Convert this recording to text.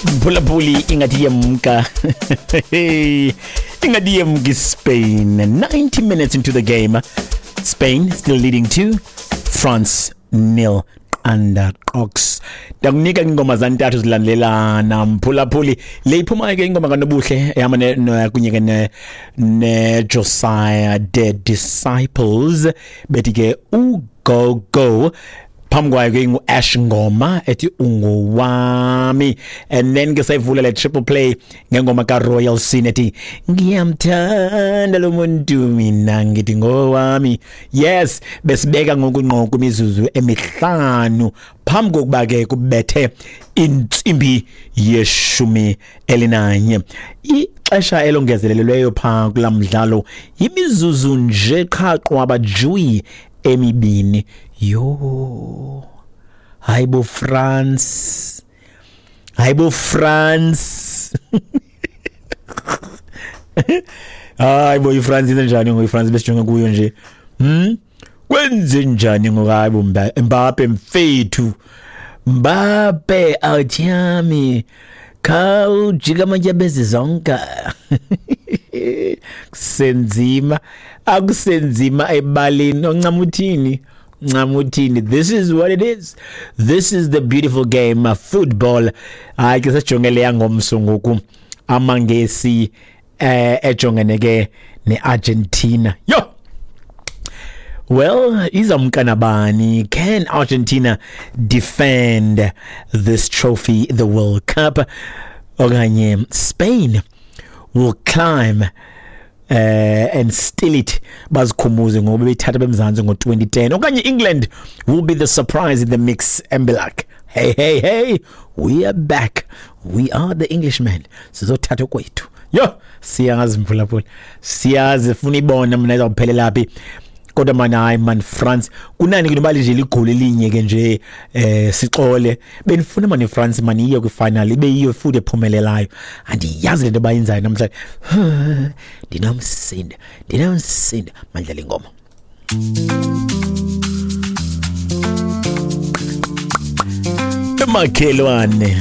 Mphulaphuli, ingathi yemka, ingathi yemka iSpain. 90 minutes into the game, Spain still leading 2, France nil. Qanda qox, ndakunika ingoma zantathu zilandelelana, mphulaphuli. Le iphumayo ke ingoma kaNobuhle ehamba kunye ke ne-Josiah The Disciples, bethi ke uGo Go. Phambi kwayo ke ingu-Ash Ngoma ethi "Ungowami", and then ke sayivula le triple play ngengoma kaRoyal Scene ethi "Ngiyamthanda lo muntu mina ngithi ngowami". Yes, besibeka ngoku ngqo kwimizuzu 5 phambi kokuba ke kubethe intsimbi ye-11. Ixesha elongezelelweyo phaa kulaa mdlalo yimizuzu nje qha qwaba juyi 2. Yho, hayibo France, hayibo France, hayi bo, iFrance yenze njani ngoku? IFrance besijonge kuyo nje, Kwenze njani ngoku? Hayi bo, Mbappe mfethu, Mbappe awuthiyami, khawujika amatyabezi zonke. Kusenzima, akusenzima ebaleni. Oncama uthini? Ncama uthini? This is what it is. This is the beautiful game, football. Hayi ke, sesijonge leya ngomso ngoku, amaNgesi ejongene ke neArgentina. Yo, well, izamka nabani? Can Argentina defend this trophy, the World Cup? Okanye Spain will climb and steal it, bazikhumuze ngoba bethatha bemzantsi ngo-2010? Okanye England will be the surprise in the mix and be like, "Hey, hey, hey, we are back, we are the Englishmen, sizothatha kwethu"? Yo, siyazi mphulaphula, siyazi, funa ibona mna izawuphelela phi. Kodwa man, hayi man, France kunani ke noba nje ligoli elinye ke nje, sixole. Benifuna man iFrance man iye kwifinal, ibe yiyo futhi ephumelelayo. Andiyazi lento bayenzayo namhlanje. Ndinomsindo, ndinomsindo. Mandlela ingoma emakhelwane.